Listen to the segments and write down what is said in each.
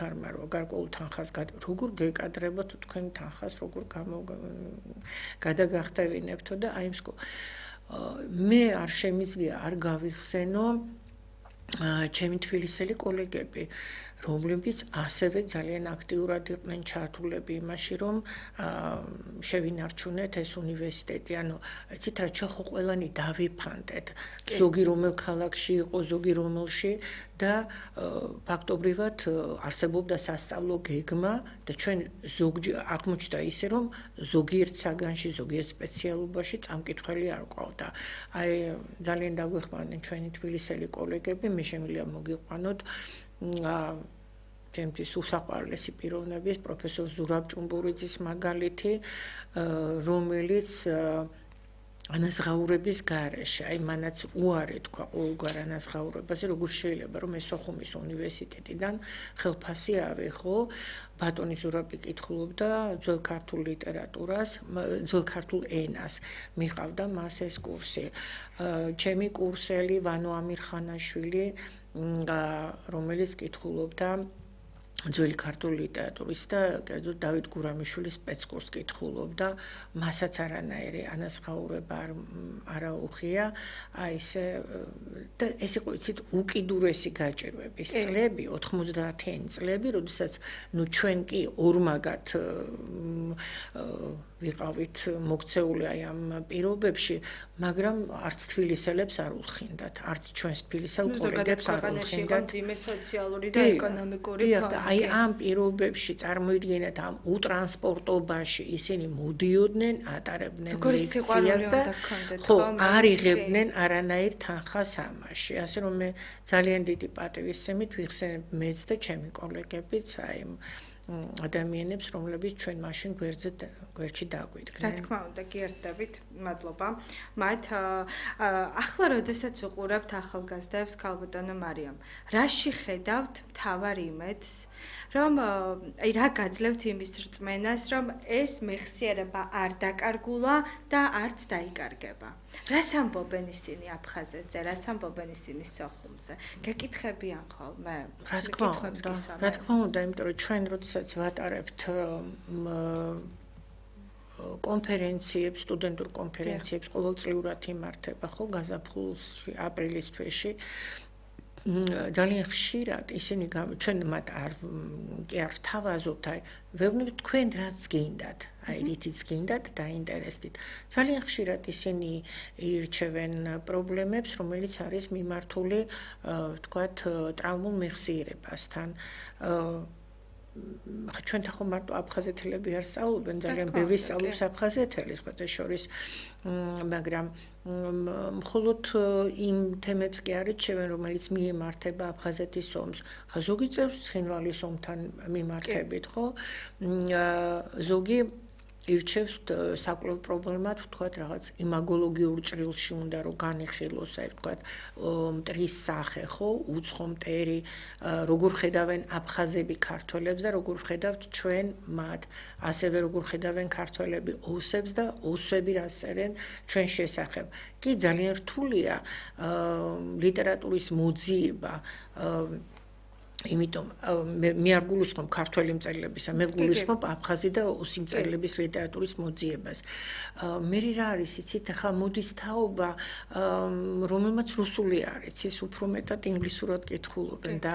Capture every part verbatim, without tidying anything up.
არ მარო გარკვეულ თანხას როგორ გეკადრებოთ თქვენ თანხას როგორ გადაგახტევინებთო და აი მსკო მე არ შემიძლია არ გავიხსენო ჩემი თბილისელი კოლეგები რომლებიც ასევე ძალიან აქტიურად იყვნენ ჩართულები იმაში რომ შევინარჩუნეთ ეს უნივერსიტეტი ანუ იცით რა ხო ყველანი დავიფანტეთ ზოგი რომელ ქალაქში იყო ზოგი რომელში და ფაქტობრივად არსებობდა სასწავლო გეგმა და ჩვენ ზოგჯერ აღმოჩნდა ისე რომ ზოგიერთ საგანში ზოგიერთ სპეციალობაში წამკითხველი არ ყავდა აი ძალიან დაგვეხმარნენ ჩვენი თბილისელი კოლეგები მე შემიძლია მოგიყვანოთ ჩემთვის უსაყვარლესი პიროვნების პროფესორ ზურაბ ჭუმბურიძის მაგალითი რომელიც ანაზღაურების გარეშე აი მანაც უარი თქვა ყოველგვარ ანაზღაურებაზე როგორ შეიძლება რომ ეს სოხუმის უნივერსიტეტიდან ხელფასი ავიღო ბატონი ზურაბი კითხულობდა ძველ ქართულ ლიტერატურას ძველ ქართულ ენას მიყავდა მას ეს კურსი ჩემი კურსელი ვანო ამირხანაშვილი რომელიც კითხულობდა ძველი ქართული ლიტერატურის და კერძოდ დავით გურამიშვილის სპეცკურსს კითხულობდა მასაც არანაირი ანაზღაურება არ აუღია აი ესე და ეს იყო იცით უკიდურესი გაჭირვების წლები ოთხმოცდაათიანი წლები როდესაც ნუ ჩვენ კი ორმაგად ვიყავით მოქცეული აი ამ პირობებში მაგრამ არც თბილისელებს არ ულხინდათ არც ჩვენს თბილისელ კოლეგებს არ ულხინდათ ძიმე სოციალური და ეკონომიკური აი ამ პირობებში წარმოიდგინეთ ამ უტრანსპორტობაში ისინი მოდიოდნენ ატარებდნენ ლექციას და ხო არ იღებდნენ არანაირ თანხას ამაში ასე რომ მე ძალიან დიდი პატივისცემით ვიხსენებ მეც და ჩემი კოლეგებიც აი ადამიანებს რომლებიც ჩვენ მაშინ გვერდზე გვერდში დაგვიდგნენ. რა თქმა უნდა, გიერთდებით, მადლობა. მათ ახლა როდესაც უყურებთ ახალგაზრდებს ქალბატონო მარიამ, რაში ხედავთ მთავარ იმედს, რომ აი რა გაძლევთ იმის რწმენას, რომ ეს მეხსიერება არ დაკარგულა და არც დაიკარგება. რას ამბობენ ისინი აფხაზეთზე, რას ამბობენ ისინი სოხუმზე? გეკითხებიან ხოლმე? რა თქმა უნდა, რა თქმა უნდა, იმიტომ რომ ჩვენ როდესაც ვატარებთ კონფერენციებს, სტუდენტურ კონფერენციებს ყოველწლიურად იმართება ხო გაზაფხულში, აპრილის თვეში. ძალიან ხშირად ისინი ჩვენ მათ არ კი არ ვთავაზობთ, აი ვეუბნებით თქვენ რაც გინდათ, აი რითიც გინდათ დაინტერესდით. ძალიან ხშირად ისინი ირჩევენ პრობლემებს, რომელიც არის მიმართული, ვთქვათ, ტრავმულ მეხსიერებასთან. ჩვენ თან ხომ მარტო აფხაზეთელები არ სწავლობენ, ძალიან ბევრი სწავლობს აფხაზეთელი, სხვათა შორის, მაგრამ მხოლოდ იმ თემებს კი არ ირჩევენ, რომელიც მიემართება აფხაზეთის ომს. ხა ზოგი წევს ცხინვალის ომთან მიმართებით, ხო? ზოგი ირჩევს საკვლევ პრობლემად, ვთქვათ, რაღაც იმაგოლოგიურ ჭრილში უნდა რომ განიხილოს, აი ვთქვათ, მტრის სახე, ხო, უცხო მტერი, როგორ ხედავენ აფხაზები ქართველებს და როგორ ხედავთ ჩვენ მათ, ასევე როგორ ხედავენ ქართველები ოსებს და ოსები რას წერენ ჩვენ შესახებ. კი ძალიან რთულია ლიტერატურის მოძიება იმიტომ მე არ გულისხმობ ქართველი მწერლებისა, მე ვგულისხმობ აფხაზი და ოსი მწერლების ლიტერატურის მოძიებას. მე რა არის იცით, ახლა მოდის თაობა, რომელმაც რუსული არ იცის, უფრო მეტად ინგლისურად კითხულობენ და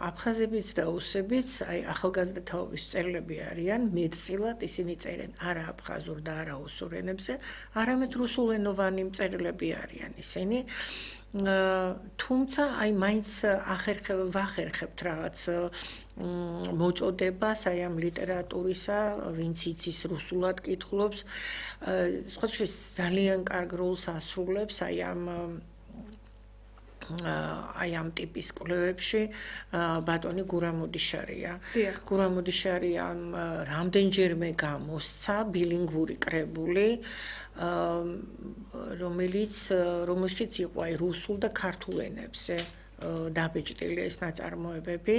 აფხაზებიც და ოსებიც, აი ახალგაზრდა თაობის მწერლები არიან, მეტწილად ისინი წერენ არა აფხაზურ და არა ოსურ ენებზე, არამედ რუსულენოვანი მწერლები არიან ისინი. თუმცა აი მაინც ახერხებ ვახერხებთ რაღაც მოწოდებას აი ამ ლიტერატურისა, ვინც იცის რუსულად კითხულობს, სხვა შორის ძალიან კარგ როლს ასრულებს აი ამ აი ამ ტიპის კვლევებში ბატონი გურამოდიშარია. გურამოდიშარია რამდენჯერმე გამოსცა ბილინგვური კრებული, რომელიც რომელშიც იყო აი რუსულ და ქართულ ენებზე დაბეჭდილი ეს ნაწარმოებები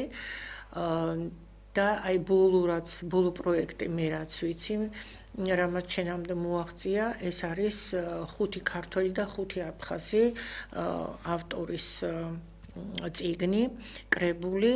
და აი ბოლო რაც ბოლო პროექტი მე რაც ვიცი რამაც შენამდე მოაღწია ეს არის ხუთი ქართველი და ხუთი აფხაზი ავტორის წიგნი კრებული